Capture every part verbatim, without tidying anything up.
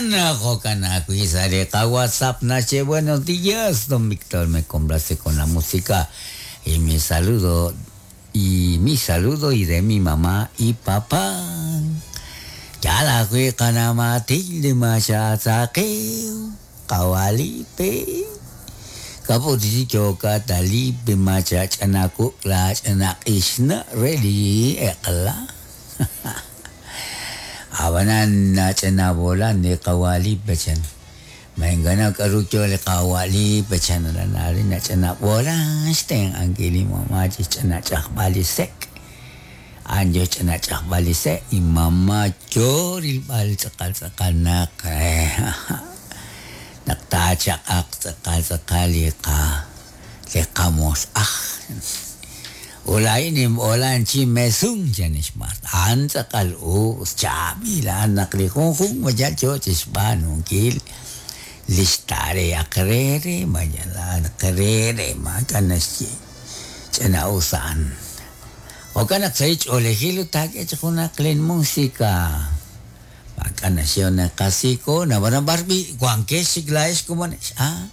Abanan, jokan ajwi' sa' li qaWhatsApp naxye buenos días, don Víctor, me complace con la música y mi saludo y mi saludo y de mi mamá y papá. Yal ajwi' qana' Matilde maxatzaqew qawalipe kaput yoka talipe machach'anaku lach'anaq'ixna re li eq'la. Abanan nach'anabolan li qawalipe chan. Maingana k'aru yo li qawalipe chan ranari nach'anabolan xtenq'ankil li mamá chixch'anach'ajb'al li sek'. An yo ch'anach'ajb'al li sek' y mamá yo rilb'al tz'aqal tz'aqal naq naq taachaq'aq tz'aqal tz'aqal li qa li qamos'aj. Ulain inb'olan chi mesun chan ixmart. An tz'aqal us chaab'il an naq li junjun mayal yo chixb'aanunkil lix tarea qrere mayal qrere maak'a' naxye ch'ina'us a'an. Jo'kan naq sa' ch'oolejil ut taak'e chi junaq lin música. Maak'a' naxye naqasiko nab'anan b'ar b'i wankex chik laa'ex komonex. Ah,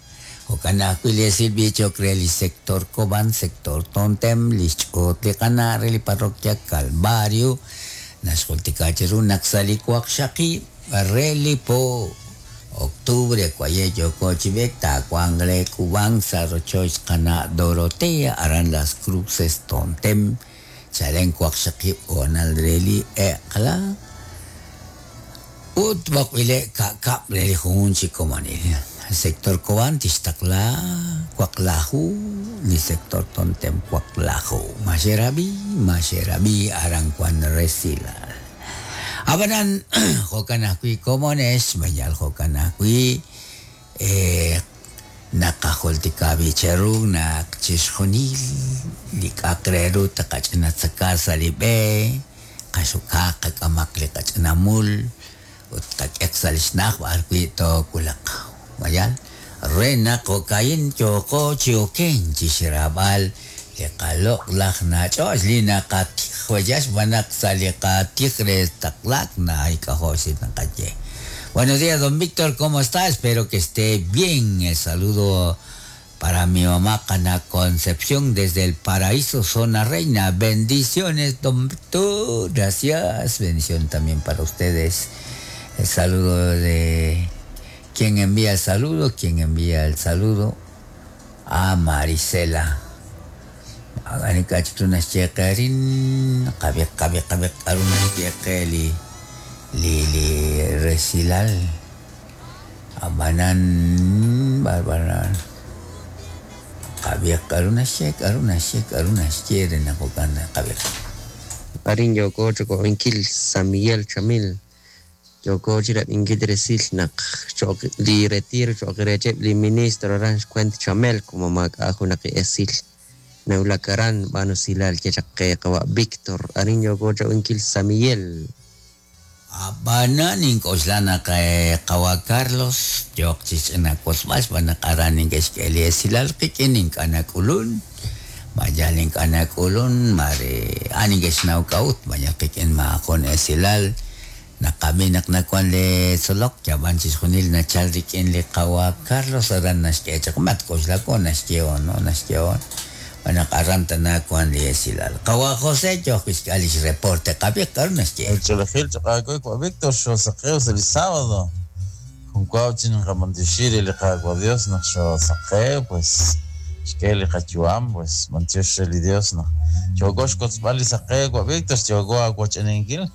jo'kan ajwi' li esil b'ichok re li sector Cobán, sector Tontem, li xch'oot li qana' re li parroquia Calvario, naxjultika chiru naq sa' li waqxaqib' re li po octubre kwaye yoko chib'ek taawanq le Cubán sa' rochoch qana' Dorotea aran Las Cruces Tontem chalen waqxaqib' o'nal re li eq'la ut b'oqb'ile' ka'kab' re li jun chi komonil. Sector Cobán tixtaqla waqlaju li sector Tontem waqlaju maxerabi maxerabi aran wan resilal. Abanan jo'kan ajwi' komonex mayal jo'kan ajwi' eh, naqajultika b'icheru naq chixjunil li k'aq re ru taqach'inatzaka sa' li b'e qaxukaq qak'amaq li qach'inamul ut qak'eq sa' li xna'aj b'ar wi' toowulaq mayal re naq jo'kayin yooqo chi oken chixraab'al li qaloq'laj nach'och' li naqatijwayax b'anaq sa' li qatij re taqlak nayk'ajo' si naqaye. Buenos días, don Víctor, ¿cómo está? Espero que esté bien. El saludo para mi mamá Cana Concepción desde el Paraíso, Zona Reina. Bendiciones, don Víctor. Gracias. Bendición también para ustedes. El saludo de quien envía el saludo, quien envía el saludo a Marisela. Li li resilal abanan barbaran qabiq aruna xek aruna xek aruna xyere naqokan qabiq Arin yoko choko inkil San Miguel Chamil yoko chira inkil resil naq chok li retiro chok rechep li ministro ran xkwent Chamel como mak ajo naq esil naulakaran banusilal chachaqe qawa Víctor arin yoko choko inkil San Miguel. Abanan ink'oxla naq qawa Carlos yoq chixch'inak'osb'al xb'aan naq aran ink'exk'eli esilal qik'in ink'anak'ulun mayal ink'anak'ulun mare an ink'exnaw k'a'ut mayal qik'in ma'ajun esilal naqab'i naq nakuan li tzolok yab'an chixjunil nachal rik'in li qawa Carlos aran naxk'e chaq matk'oxlako naxye'on no naxye'on b'anaq aran tanakuan li esilal. Qawa José yoq xk'al lix reporte qabiq k'aru naxye. El cholejil chaqakuy kwa Víctor xosaqew sa' li sábado. Junkuaw chin qamantixiri li qakwa Dios naq xosaqew pues xk'e li qayuam pues mantiox li Dios naq yoko xkotzb'al li saqew kwa Víctor yoko awach'aninkil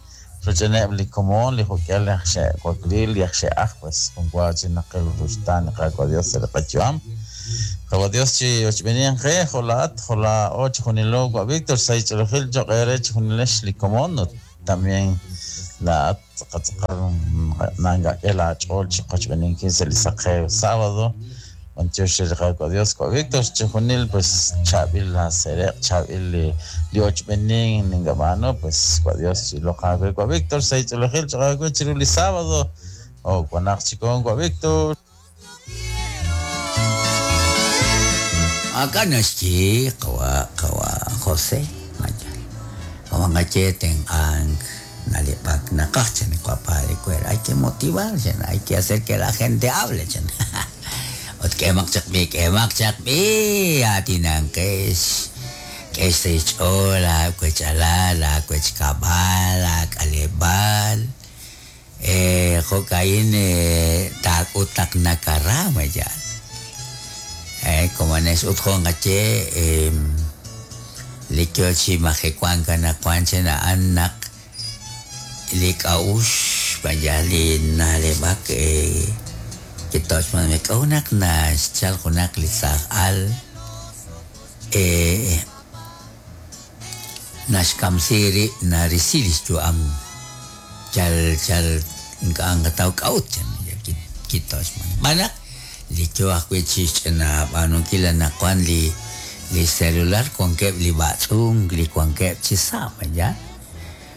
roch'aneb' li komon li jok'al li xe'waklil li xe'aj pues junkuaw chin naqel ruxtaan li qakwa Dios sa' li qayuam. Qawa Dios chi ochb'enian qe jolaat jola och junilo kwa Víctor say cholejil choqere chjunilex li komon también la tzaqatzaqal nanga k'ela ch'ol chi qochb'eninkin sa' li saqew sábado mantiox li qakwa Dios kwa Víctor chjunil pues chabil la sereq chabil li li ochb'enin ningab'ano pues kwa Dios chi loqawe kwa Víctor say cholejil choqawe chiru li sábado o kwanaq chikon kwa Víctor. Acá naxyi qawa qawa José mayal qawa ngacheten ang Nalib'ak naqaj chan padre Cuer, hay que motivar, chan, hay que hacer que la gente hable, chan. Ut k'emaq chaq b'i, k'emaq chaq b'i, atinanqex. K'ex sa' xch'ool aawech'alal, aawechkab'al, aak'aleb'aal. Eh, jo'ka'in eh, taak'ut naq nakara mayal. Eh, como nex ut jo' nqaye eh, li yo chi majewank anaqwan chan a'an naq li k'a'ux vaya li na'leb'ak eh, kitochman k'a'u naq naxchal junaq li saaj al eh, naxkamsi rib' narisi lix yu'am chal chal ink'a' nqataw k'a'ut chan kitochman b'anaq li yo ajwi' chi xch'ina b'aanunkil anaqwan li li celular wankeb' li b'atz'unk li wankeb' chi sa' vaya.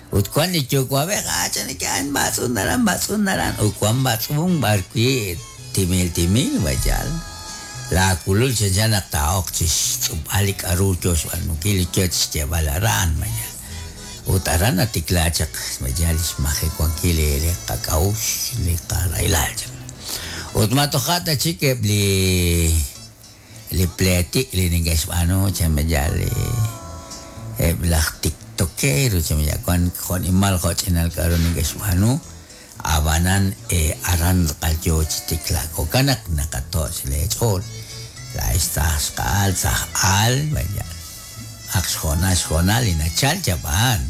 Ut wan li yuwa'b'ej ah chan kan b'atz'un naran b'atz'un naran ut wan b'atz'un b'arwi' timil timil vayal la kulul chanchan naq taa'ok chi xtz'ub'al li k'a'ru yo xb'aanunkil li yo chi xyeeb'al aran vaya. Ut aran natikla chaq vaya li xmajewankil li li qak'a'uxl li qarahilal chan. Ut matoja' ta chik eb' li li pletik li neke'xb'aanu chan vaya li eb' laj tiktokero chan vaya wan jo'nimal jo'ch'inal k'a'ru neke'xb'aanu ab'anan eh, aran tz'aqal yo chi tiklaak jo'kan naq naqatoch' leech'ool laa'ex saj xqa'al saj al vaya ak xjoonal xjoonal li nachal chab'aan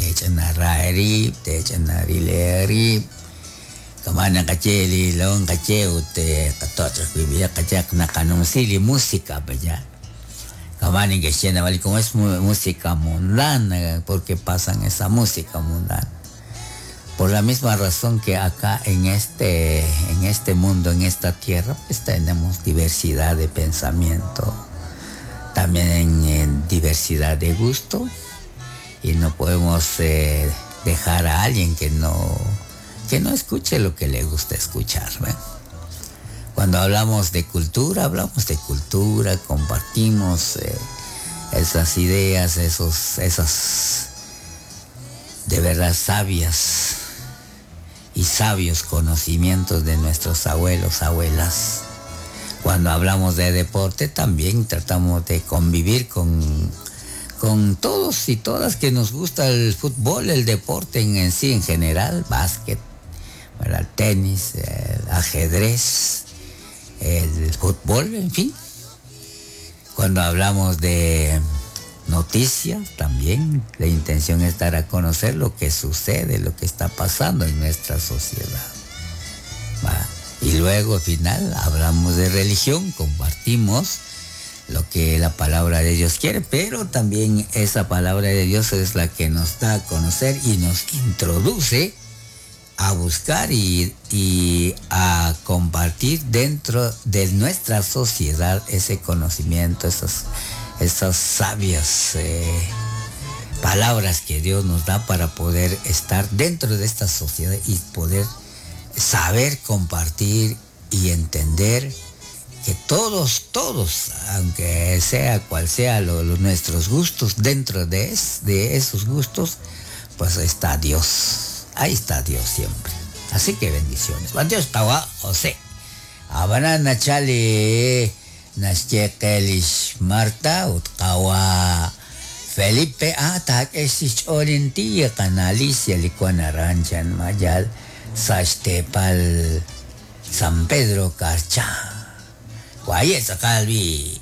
teech'ina ra eerib' teech'ina ril eerib' kama' naqaye li lon qaye ut eh, qatoch' ajwi' b'iyaq qachaq naqanumsi li música vaya kama' neke'xye nab'al como es música mundana porque pasan esa música mundana. Por la misma razón que acá en este, en este mundo, en esta tierra, pues tenemos diversidad de pensamiento, también en, en diversidad de gusto, y no podemos eh, dejar a alguien que no, que no escuche lo que le gusta escuchar. ¿ve? Cuando hablamos de cultura, hablamos de cultura, compartimos eh, esas ideas, esos, esas de verdad sabias y sabios conocimientos de nuestros abuelos, abuelas. Cuando hablamos de deporte también tratamos de convivir con, con todos y todas que nos gusta el fútbol, el deporte en, en sí en general, básquet, ¿verdad? Tenis, el ajedrez, el fútbol, en fin. Cuando hablamos de noticias también, la intención es dar a conocer lo que sucede, lo que está pasando en nuestra sociedad. ¿Va? Y luego al final hablamos de religión, compartimos lo que la palabra de Dios quiere, pero también esa palabra de Dios es la que nos da a conocer y nos introduce a buscar y, y a compartir dentro de nuestra sociedad ese conocimiento, esas, esas sabias eh, palabras que Dios nos da para poder estar dentro de esta sociedad y poder saber compartir y entender que todos, todos, aunque sea cual sea lo, lo, nuestros gustos, dentro de, es, de esos gustos, pues está Dios. Ahí está Dios siempre. Así que bendiciones. Dios tawa José. Abana nachali naxye qe Marta ut qawa Felipe ah taak'e xch'ool intiya qana Alicia li wan aran chan mayal sa xteepal San Pedro Carchá. Waye tz'aqal bi.